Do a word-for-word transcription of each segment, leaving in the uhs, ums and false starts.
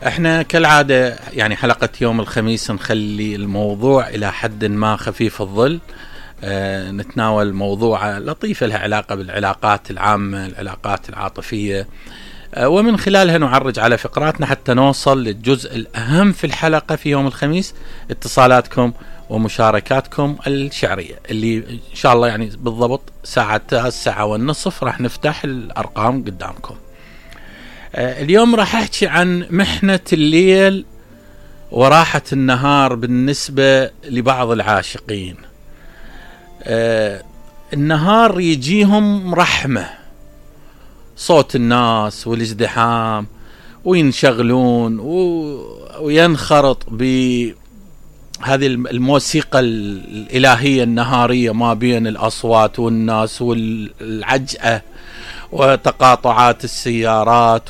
احنا كالعادة يعني حلقة يوم الخميس نخلي الموضوع الى حد ما خفيف الظل. اه نتناول موضوع لطيفة لها علاقة بالعلاقات العامة، العلاقات العاطفية، اه ومن خلالها نعرج على فقراتنا حتى نوصل للجزء الأهم في الحلقة في يوم الخميس، اتصالاتكم ومشاركاتكم الشعرية اللي إن شاء الله يعني بالضبط ساعة الساعة والنصف راح نفتح الأرقام قدامكم. اليوم راح أحكي عن محنة الليل وراحة النهار بالنسبة لبعض العاشقين. النهار يجيهم رحمة، صوت الناس والازدحام وينشغلون وينخرط بهذه الموسيقى الإلهية النهارية ما بين الأصوات والناس والعجأة وتقاطعات السيارات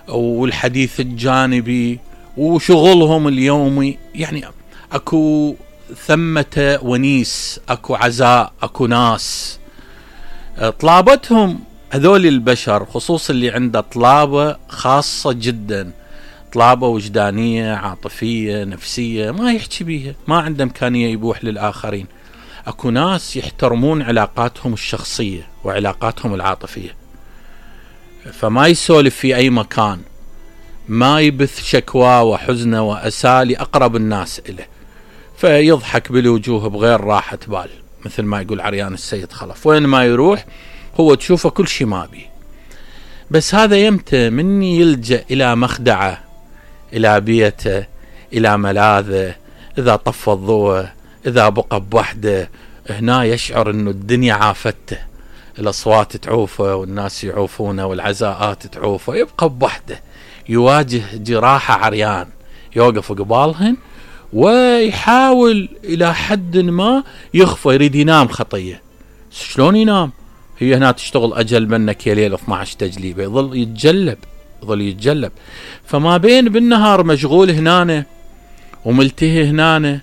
والحديث الجانبي وشغلهم اليومي. يعني اكو ثمة ونيس، اكو عزاء، اكو ناس طلابتهم هذول البشر، خصوصا اللي عنده طلابة خاصة جدا، طلابة وجدانية عاطفية نفسية ما يحكي بيها، ما عنده امكانية يبوح للآخرين. اكو ناس يحترمون علاقاتهم الشخصية وعلاقاتهم العاطفية، فما يسولف في اي مكان، ما يبث شكوى وحزنه واسى لأقرب الناس إله، فيضحك بالوجوه بغير راحة بال، مثل ما يقول عريان السيد خلف، وين ما يروح هو تشوفه كل شي ما بي. بس هذا يمتى من يلجأ الى مخدعه، الى بيته، الى ملاذه، اذا طفى الضوء، اذا بقى بوحده، هنا يشعر انه الدنيا عافته، الأصوات تعوفه والناس يعوفونه والعزاءات تعوفه، يبقى بوحده يواجه جراحة عريان، يوقف قبالهن ويحاول إلى حد ما يخفى، يريد ينام خطية. شلون ينام؟ هي هنا تشتغل أجل منك يا ليل اثني عشر تجليبه، يظل يتجلب يظل يتجلب. فما بين بالنهار مشغول هنانه وملتهي هنانه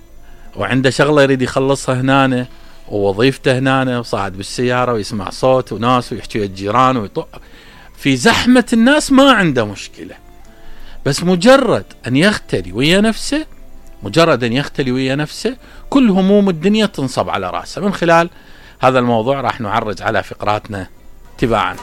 وعنده شغلة يريد يخلصها هنانه ووظيفته هنا، وصعد بالسيارة ويسمع صوت وناس ويحكي الجيران ويطق في زحمة الناس، ما عنده مشكلة. بس مجرد أن يختلي ويا نفسه، مجرد أن يختلي ويا نفسه كل هموم الدنيا تنصب على رأسه. من خلال هذا الموضوع راح نعرج على فقراتنا تباعا.